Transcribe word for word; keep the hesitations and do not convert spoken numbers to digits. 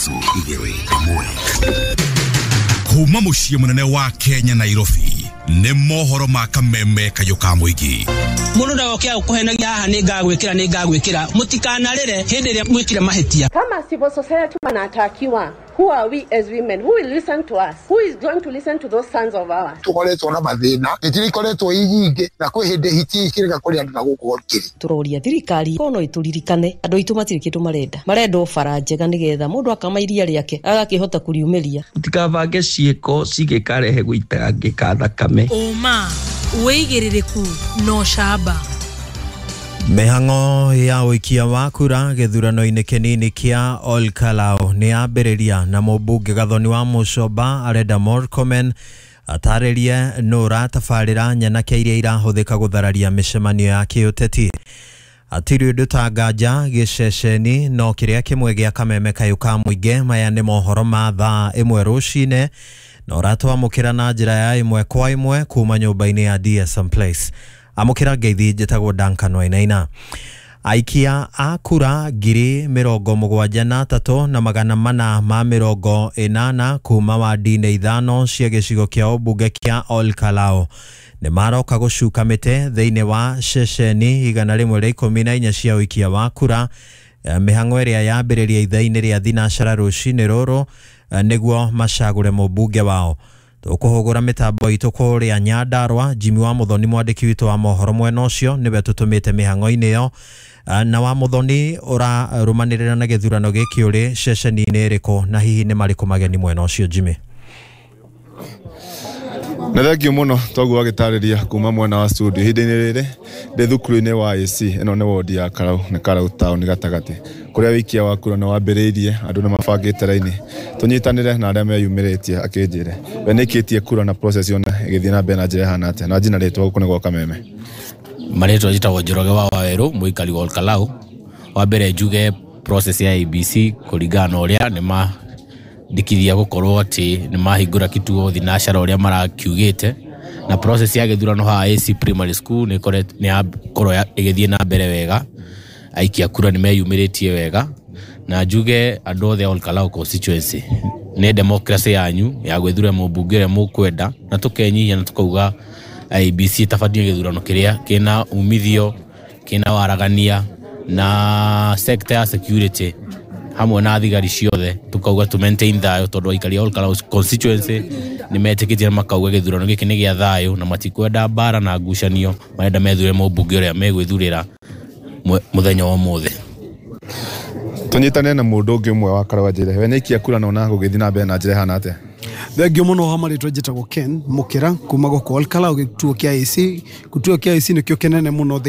Ithatũ igĩrĩ ĩmwe. Kuma mũciĩ mũnene wa Kenya, Nairobi, nĩ mohoro ma Kameme Kayũ ka Mũingĩ. Mũndũ ndagoke gũkũhenagia haha, nĩ ngagwĩkĩra, nĩ ngagwĩkĩra. Mũtikanarĩre hĩndĩ ĩrĩa mwĩkire mahĩtia. Kama civil society wanatakiwa, who are we as women? Who will listen to us? Who is going to listen to those sons of ours? Tukoretwo na mathĩna, hiti ikoretwo i nyingĩ, na kwĩ hĩndĩ hiti ikĩrega kũrĩa andũ na gũkũ kĩrĩ. Tũroria thirikari ko no ĩtũririkane, andũ aitũ matirĩ kĩndũ marenda, marenda o bara njega nĩgetha mũndũ akama iria rĩake agakĩhota kũriumĩria. Mũtikabange ciĩko cingĩkarehe gũitangĩka thakame. Ũma, wĩigĩrĩrĩku na ũcamba. Mĩhang'o ya ũikia wa kura gĩthurano-inĩ kĩnini kĩa Olkalau nĩ yambĩrĩria, na mũmbunge Gathoni wa Mũcomba arenda Murkomen atarĩrie nũ ũratabarĩra nyanake iria irahũthĩka gũthararia mĩcemanio ya kĩũteti. Hatirĩ ũndũ ta nganja gĩceceni no kĩrĩa kĩmwe gĩa Kameme Kayũ ka Mũingĩ. Maya nĩ mohoro ma thaa ĩmwe rũcinĩ na ũratwamũkĩra na njĩra ya ĩmwe kwa ĩmwe kuma nyũmba-inĩ ya D S M Place. Amũkĩra ngeithi, njĩtagwo Duncan Wainaina. Aikia a kura ngiri mĩrongo mũgwanja na atatũ na magana mana ma mĩrongo ĩnana kuma wandi-inĩ ithano cia gĩcigo kĩa ũmbunge kĩa Olkalau nĩ maroka gũcuka mĩtĩ thĩinĩ wa ceceni igana rĩmwe rĩa ikũmi na inya cia ũikia wa kura, mĩhang'o ĩrĩa yambĩrĩria ithaa-inĩ rĩa thinacara rũcinĩ rũrũ, nĩguo macagũre mũmbunge wao. Tũkũhũgũra mĩtambo itũ kũrĩa Nyandarua. Jimmy wa Muthoni, mwandĩki witũ wa mohoro mwena ũcio, nĩwe tũtũmĩte mĩhang'o-inĩ ĩyo. Na wa Muthoni, ũrarũmanĩrĩra na gĩthurano gĩkĩ ũrĩ ceceni-inĩ ĩrĩkũ, na hihi nĩ marĩkũ mageni mwena ũcio, Jimmy? Na thengio mũno. Toguo agĩtarĩria kuma mwena wa studio, ihinda-inĩ rĩrĩ ndĩ thukuru-inĩ wa A C. Ĩno nĩ wodi ya Karau, nĩ Karau town gatagatĩ, kũrĩa wĩikia wa kura nĩ wambĩrĩirie. Andũ nĩ mabangĩte raini. Tũnyitanĩre na arĩa meyumĩrĩtie akĩnjĩre we nĩkĩtie kura na process yona ĩgĩthiĩ na mbere na njĩra ĩhana atĩa. Na njina rĩtwa gũkũ nĩ gwa Kameme. Marĩtwa njĩtagwo Njoroge wa Wawerũ, mũikari wa Olkalau. Wa mbere njuge process ya I E B C, kũringana na ũrĩa nĩ mandĩkithia gũkorwo atĩ nĩ mahingũra kituo thinacara ũrĩa marakiugĩte, na process ya gĩthurano haha A C Primary School nĩ ĩkoret- nĩ yakorwo ĩgĩthiĩ na mbere wega. Aikia kura nĩ meyumĩrĩtie wega, na njuge andũ othe a Olkalau constituency, nĩ democracy yanyu ya gwĩthurĩra mũmbunge ũrĩa mũkwenda, na tũkenyihia na tũkauga I E B C ĩtabanie gĩthurano kĩrĩa kĩna umithio, kĩna waragania, na sector ya security hamwe na thigari ciothe tukauga tu maintain thayũ, tondũ aikari a Olkalau constituency nĩ metĩkĩtie na makauga gĩthurano gĩkĩ nĩ gĩa thayũ na matikwenda mbara na ngucanio, marenda methure mũmbunge ũrĩa megwĩthurĩra mwe- mũthenya wa ũmũthĩ. Tũnyitanĩre na mũndũ ũngĩ ũmwe wa Karau anjĩre we nĩikia kura na ona gũgĩthiĩ na mbere na njĩra ĩhana atĩa. Thengio mũno. Wa marĩtwa njĩtagwo Ken Mũkĩra kuma gũkũ Olkalau, gĩtuo kĩa A C. Gĩtuo kĩa A C nĩkĩo kĩnene mũno thĩinĩ.